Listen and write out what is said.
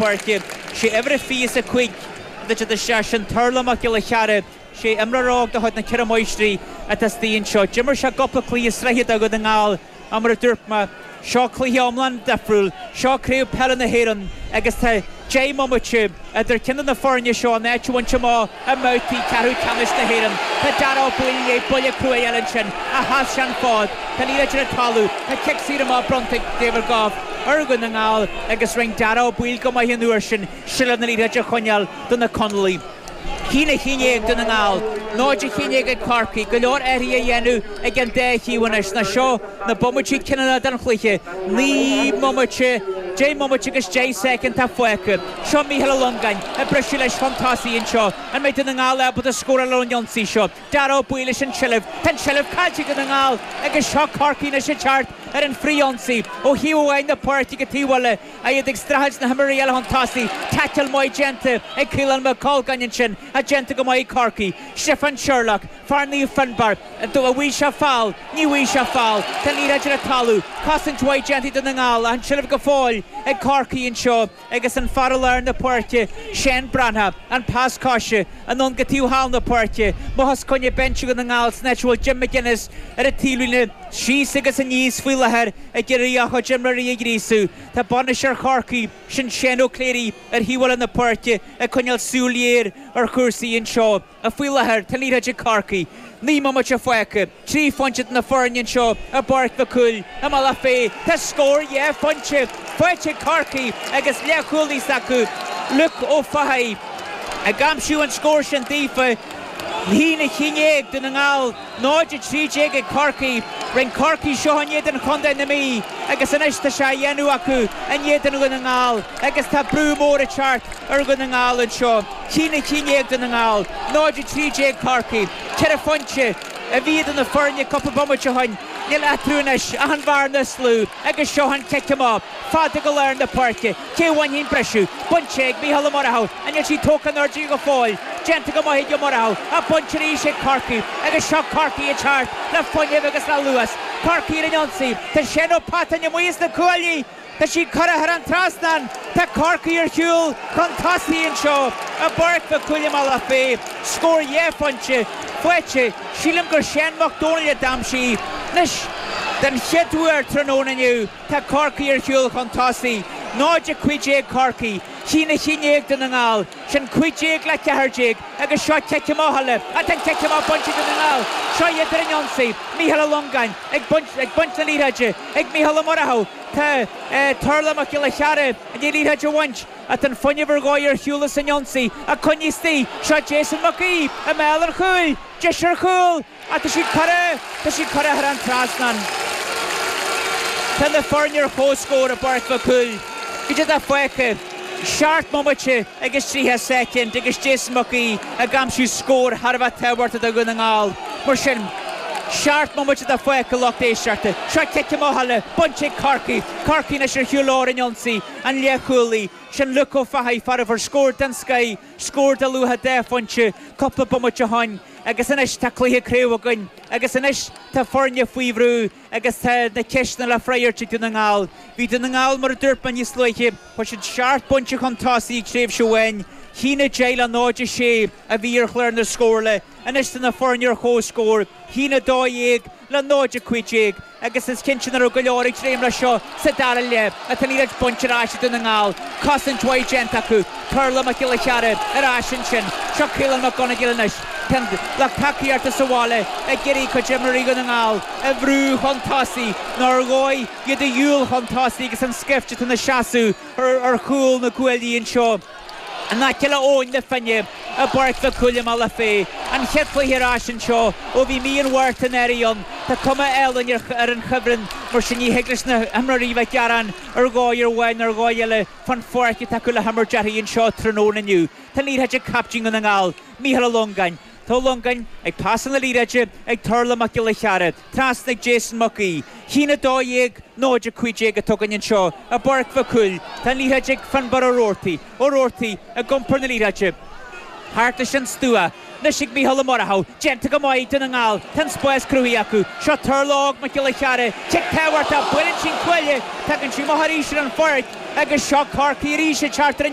Páirce. Sé uimhir a 25 atá ag teacht isteach, sin Turlough Mac Giolla Chearra. Sé imreoir óg de chuid na Ceithre Máistrí atá istigh anseo. D'imir sé cúpla cluiche sraithe do Dhún na nGall ach mar a dúirt mé, seo cluiche iomlán difriúil. Seo Craobh Peile na hÉireann agus tá 10 mbomaite idir ceann de na foirne seo an áit a bhaint amach i mbabhtaí ceathrú ceannais na hÉireann. Tá Darragh Ó Baoill i ndiaidh buille crua a fháil ansin ach sheas sé an fód. Tá an liathróid ar an talamh. Tá cic saor amach bronnta ag David Gough ar Dhún na nGall agus rinne Darragh Ó Baoill go maith an uair sin seilbh na liathróide a choinneáil do na Conallaigh. 1-11 ag Dún na nGall, 0-11 ag Corcaigh. Go leor athruithe á dhéanamh ag an dá thaobh anois. Nó seo na bomaití cinniúna den chluiche. 9 mbomaite, 10 mbomaite agus 10 soicind atá fágtha. Seo Mícheál Ó Longáin ag briseadh leis chun tosaigh anseo. An mbeidh Dún na nGall ábalta scóráil ón ionsaí seo? Darragh Ó Baoill leis an tseilbh. Tá an tseilbh caillte ag Dún na nGall agus seo Corcaigh anois ag teacht ar an frith-ionsaí ó thaobh amháin na páirce go taobh eile. Iad ag streachailt na himreoirí eile chun tosaigh. Taicil maith déanta ag Caolán Mac Colgáin ansin ach déanta go maith ag Corcaigh. Stiofán Sherlock, fear Naomh Fionnbarr, an bhfaighidh sé feall? Ní bhfaighidh sé feall. Tá an liathróid ar an talamh. Cosaint mhaith déanta ag Dún na nGall ach an tseilbh go fóill ag Corcaigh anseo agus an fear i lár na páirce, Shane Breathnach, an pas coise anonn go taobh thall na páirce. Amach os coinne binse Dhún na nGall san áit a bhfuil Jim McGuinness ar an taobhlíne síos agus aníos faoi láthair ag iarraidh a chuid imreoirí a ghríosadh. Tá bainisteoir Chorcaí, sin Shane Ó Cléirigh, ar thaobh eile na páirce ag coinneáil súil ghéar ar chúrsaí anseo. Faoi láthair, tá an liathróid ag Corcaigh. 9 mbomaite fágtha. 3 phointe idir na foirne anseo i bPáirc Mhic Cumhaill i mBealach Féich. Tá scór 2 phointe faighte ag Corcaigh agus leathchúlaí s'acu, Luke Ó Fathaigh, ag aimsiú an scór sin daofa. 1-11 Dún na nGall. 0-13 ag Corcaigh. Rinne Corcaigh seo in éadan chontae na Mí agus anois tá sé á dhéanamh acu in éadan Dhún na nGall agus tá brú mór ag teacht ar Dhún na nGall anseo. 1-11 Dún na nGall, 0-13 Corcaigh. Ceithre phointe a bhí idir na foirne cúpla bomaite ó shin. Níl eatarthu anois ach an bhearna is lú agus seo an cic amach fada go lár na páirce. Cé a bhainfidh an briseadh? Bainte ag Mícheál Ó Murchú. An níl sí tógtha in airde go fóill? Déanta go maith ag Ó Murchú. Ach bainte arís ag Corcaigh. Agus seo Corcaigh ag teacht le fuinneamh agus le luas. Corcaigh ar an ionsaí. Tá Shane Ó Peatáin amuigh as na cuaillí. Tá sí curtha thar an trasnán. Tá Corcaigh ar shiúl chun tosaigh anseo i bPáirc Mhic Cumhaill i mBealach Féich. Scór 2 phointe faighte. Sílim gur Shane Mac Dónaill a d'aimsigh í. Anois, den chéad uair tráthnóna inniu, Tá Corcaigh ar shiúl chun tosaigh. 0-15 Corcaigh, 1-11 Dún na nGall. Sin 15 le 14 agus seo cic amach eile. Tá an cic amach bainte ag Dún na nGall. Seo iad ar an ionsaí. Mícheál Ó Longáin ag baint ag baint na liathróide ag Mícheál Ó Murchú. Tá Turlough Mac Giolla Chearra i ndiaidh liathróid a bhaint. Tá an fuinneamh ar dhóigh ar shiúl as an ionsaí. Ach coinnithe istigh. Seo Jason Mac Aoidh i mbéal an chúil. Deis ar chúl. Ach tá sí curtha, tá sí curtha thar an trasnán. Tá na foirne ar comhscór i bPáirc Mhic Cumhaill. Goidé atá fágtha? Seacht mbomaite agus 30 soicind agus Jason Mac Aoidh ag aimsiú scór thar a bheith tábhachtach do Dhún na nGall. Mar sin, seacht mbomaite atá fágtha lucht éisteachta. Seo cic amach eile, bainte ag Corcaigh. Corcaigh anois ar shiúl leo ar an ionsaí, an leathchúlaí. Sin Luke Ó Fathaigh, fear a fuair scór den scoith, scór de luach 2 phointe cúpla bomaite ó shoin. Agus anois tá cluiche craoibhe againn agus anois tá foirne faoi bhrú agus tá na ceisteanna le freagairt ag Dún na nGall. Bhí Dún na nGall, mar a dúirt mé níos luaithe, chuaigh siad seacht bpointe chun tosaigh ag tréimhse amháin, 1-10 le 0-6 a bhí ar chlár na scórála. Anois tá na foirne ar comhscór, 1-12 le 0-15 agus is cinnte nach raibh go leor ag dréim leis seo sa dara leath. Tá an liathróid bainte ar ais ag Dún na nGall. Cosaint mhaith déanta acu. Turlough Mac Giolla Chearra ar ais ansin. Seo Caolán Mac Conagail anois. Tá an lucht tacaíochta sa bhaile ag iarraidh cuid imreoirí Dhún na nGall a bhrú chun tosaigh nó ar dhóigh iad a dhiúl chun tosaigh agus an scaifte atá ina seasamh ar chúl na gcuaillí anseo. In aice le Abhainn na Finne i bPáirc Mhic Cumhaill i mBealach Féich. An chéad chluiche ar ais anseo ó bhí mí an Mhárta anuraidh ann. Tá cuma álainn ar an chuibhreann, mar sin ní thig leis na himreoirí bheith ag gearán ar dhóigh amháin nó ar dhóigh eile fán pháirc atá acu le himirt uirthi anseo tráthnóna inniu. Tá an liathróid ag captaen Dhún na nGall, Mícheál Ó Longáin. Tá Ó Longáin ag pasáil na liathróide ag Turlough Mac Giolla Chearra, trasna ag Jason Mac Aoidh. 1-12, 0-15 atá againn anseo i bPáirc Mhic Cumhaill. Tá an liathróid ag Finbarr Ó Roarty. Ó Roarty ag iompar na liathróide thart leis an stua. Anois ag Mícheál Ó Murchú. Déanta go maith ag Dún na nGall. Tá an spás cruthaithe acu. Seo Turlough Óg Mac Giolla Chearra. Cic tábhachtach. Buaileann sí an cuaille. Tagann sí amach arís ar an pháirc. Agus seo Corcaigh arís ag teacht ar an.